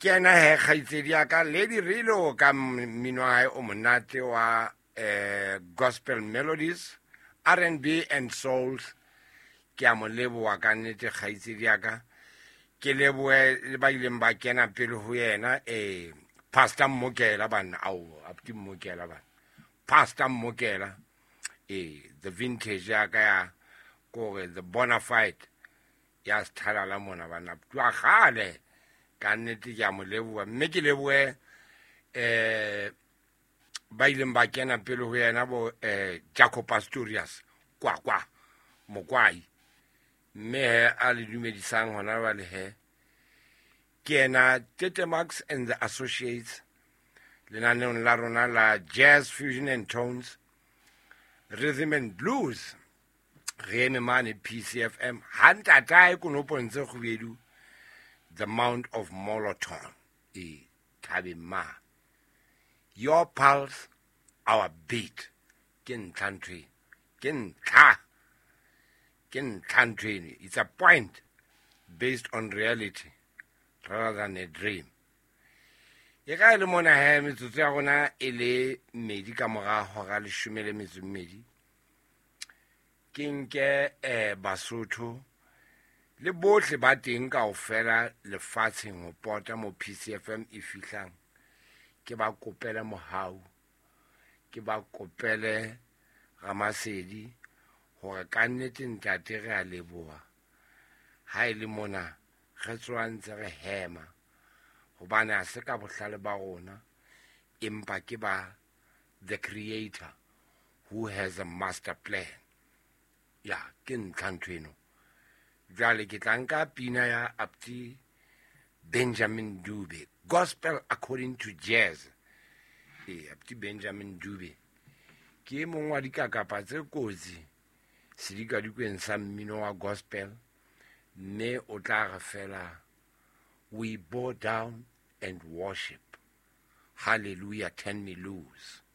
Ke yena he kgaitsedi ya ka Lady Rilo ka mmino wa hae o monate wa gospel melodies, R&B and souls. Ke a mo leboha ka nnete kgaitsedi ya ka. Ke lebohe le ba ileng ba kena pele ho yena, Pastor Mmokela banna, ao abuti Mmokela banna, Pastor Mmokela, the vintage ya ka ya kore the bona fide ya sethalala mona banna, twa kgale ka nnete ke a mo leboha. Mme ke lebohe ba ileng ba kena pele ho yena bo Jacob Pastorius kwa Mokwai, mme he a le dumedisang hona jwale he ke yena Tete Max and the Associates lenaneong la rona la Jazz Fusion and Tones, Rhythm and Blues. Re eme mane PCFM ha ntatae konopong tse kgubedu, the Mount of Moloton, e thabeng ma. Your pulse, our beat. Ke ntlha ntho eno, ke ntlha, ke ntlha ntho eno. It's a point based on reality rather than a dream. E ka e le mona he metsotso ya rona e le mmedi ka mora hora leshome le metso e mmedi. Ke nke Basotho le bohle ba teng kaofela lefatsheng ho pota mo PCFM e fihlang, ke ba kopele mohau, ke ba kopele Ramasedi hore ka nnete ntate re a leboha ha e le mona re tsoa ntse re hema, hobane ha se ka bohlale ba rona, empa ke ba the creator who has a master plan. Ya ke ntlha ntho eno. Jwale ke tla nka pina ya Apti Benjamin Dube, Gospel According to Jazz. Apti Benjamin Dube ke e mong wa dikakapa tse kotsi sedikadikweng sa mmino wa gospel, mme o tla re fela we bow down and worship, hallelujah, turn me loose.